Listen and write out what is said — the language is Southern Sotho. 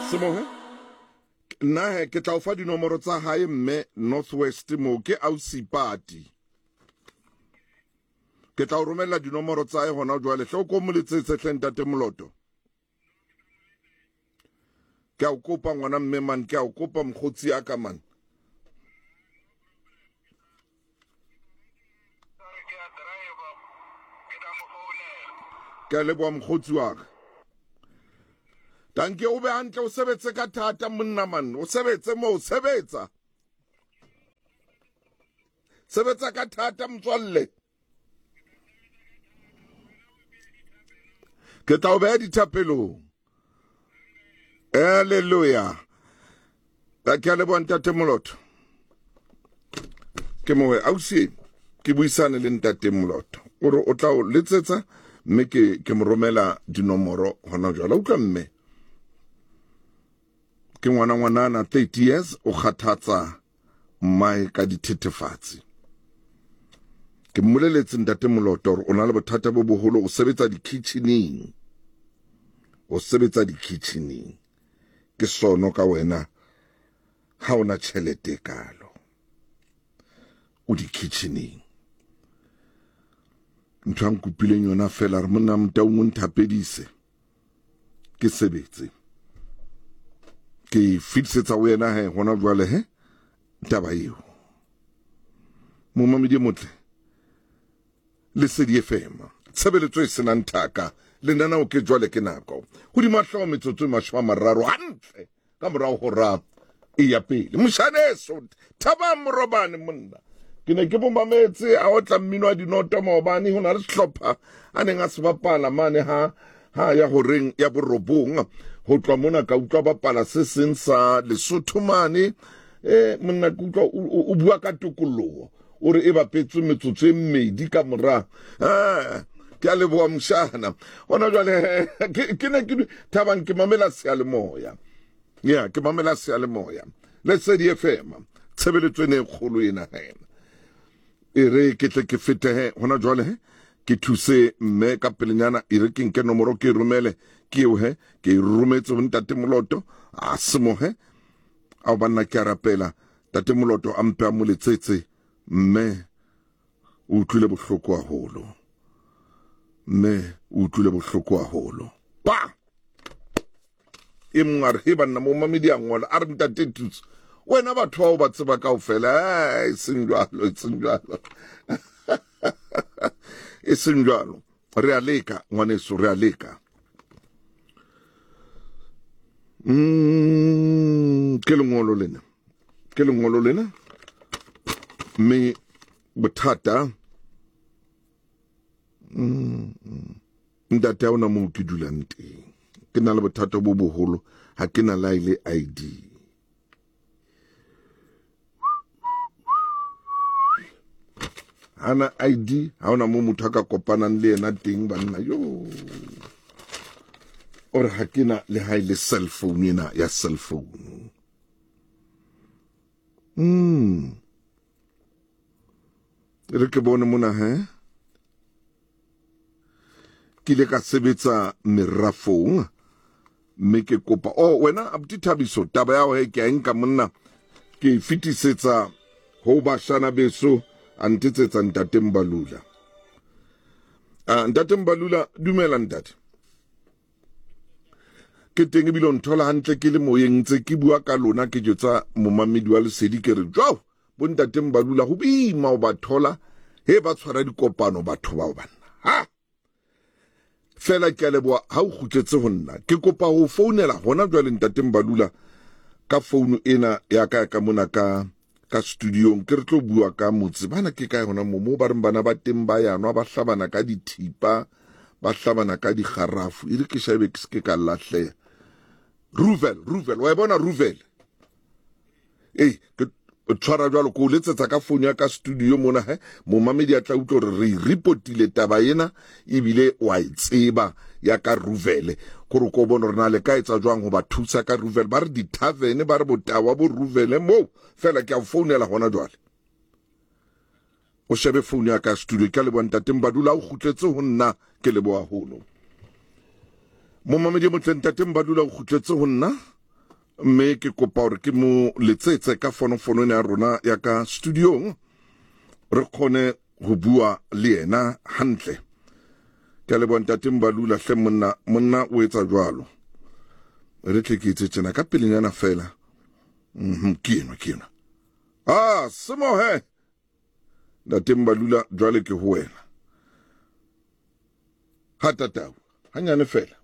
Semohe nna he ke tla o fa dinomoro tsa hae mme Northwest moo ke ausi Pati. Ke tla o romella dinomoro tsa hae hona jwale. Hle o ko mo letsetse hle ntate Moloto. Ke a o kopa ngwana mme man, ke a o kopa mokgotsi ya ka man. Ke a leboha mokgotsi wa ka. Danke o be hantle o sebetse ka thata monna man, o sebetse moo sebetsa. Sebetsa ka thata motswalle. Ke tla o beha dithapelong. Hallelujah. Ke a leboha ntate Moloto. Ke mowe ausi ke buisane le ntate Moloto. O re o tla o letsetsa mme ke ke mo romela dinomoro hona jwale. Utlwa mme. Ke ngwana ngwanana 30 years o kgathatsa mmae ka dithethefatsi. Ke mmoleletse ntate Moloto hore o na le bothata bo boholo, o sebetsa dikitcheneng. O sebetsa dikitcheneng. Ke sono ka wena ha ona tjhelete e kalo. O dikitcheneng. Ntho a nkopileng yona fela re monna Motaung o nthapedise. Ke sebetse. Ke fetisetsa ho yena he hona jwale he taba eo. Momamedi e motle. Lesedi FM. Tshebeletso e senang thaka. Lenaneo ke jwale ke nako. Hodima hlooho metsotso e 30 hantle ka morao hora e ya pele. Moshaneso Thabang Morobane monna. Ke ne ke mo mametse a otla mmino wa dinoto maobane ho na le sehlopha a neng a se bapala mane ha ha ya horeng ya borobong ho tloha mona ka utlwa bapala se seng sa Lesotho mane monna ke utlwa o bua ka tokoloho o re e bapetswe metsotso e mmedi ka mora ke a leboha moshana hona jwale ke ne ke Thabang ke mamela seyalemoya ya ke mamela seyalemoya Lesedi FM tshebeletso ene e kgolo ena he e re ke tle ke fete he hona jwale he ke thuse mme ka pelenyana e re ke nke nomoro ke e romele ke eo he ke e rometse ho ntate Moloto a semohe ao banna ke a rapela tate Moloto a mpe a mo letsetse mme o utlwile bohloko haholo mme o utlwile bohloko haholo pa e mongwe a re he banna mo mamedi a ngola a re ntate Thuso wena batho bao ba tseba kaofela e seng jwalo e seng jwalo e seng jwalo re a leka ngwaneso re a leka ke lengolo lena ke lengolo lena mme bothata ntate ha ona moo ke dulang teng ke na le bothata bo boholo ha ke na la ile ID hana ID ha ona mo motho a ka kopanang le yena teng banna yo o re ha ke na le ha ile cell phone ena ya cell phone re ke bone mona he ke ile ka sebetsa merafong mme ke kopa oh wena abuti Thabiso taba ya he ke a nka monna ke e fetisetsa ho bashana beso a ntetsetsa ntate Mbalula. Ntate Mbalula dumela ntate. Ke teng ebile o nthola hantle ke le moyeng ntse ke bua ka lona ke jwetsa momamedi wa Lesedi ke re jwao bo ntate Mbalula ho boima o ba thola he ba tshwara dikopano batho bao banna ha fela ke a leboha ha o kgutletse ho nna ke kopa ho founela hona jwale ntate Mbalula ka founu ena ya ka ka mona ka ka studiong ke re tlo bua ka motse bana ke kae hona mo mo ba reng bana ba teng ba yanwa ba hlabana ka dithipa ba hlabana ka digarafu e re ke shabe ke se ka lahleha Ruvel Ruvel wa e bona Ruvel ei ke tshwara jwalo ko letsetsa ka founu ya ka studio mona he momamedi a tla utlwa hore re reportile taba ena ebile wa e tseba ya ka Ruvele gore ko bone rena le ka etsa jwang ho ba thusa ka Ruvele ba re di-tavern ba re botawa bo Ruvele moo fela ke a founela hona jwale o shebe founu ya ka studio ke a leboha ntate Mbadula o kgutletse ho nna ke leboha haholo momamedi e motle ntate Mbadula o kgutletse ho nna. Mme ke kopa hore ke mo letsetse ka fonofono ena ya rona ya ka studiong, re kgone ho bua le yena hantle. Ke a leboha ntate Mbalula hle monna, monna o etsa jwalo. Re tle ke etse tjena ka pelenyana fela. Ke enwa, ke enwa. Ah, semohe. Ntate Mbalula jwale ke ho wena. Ha tatau, hanyane fela.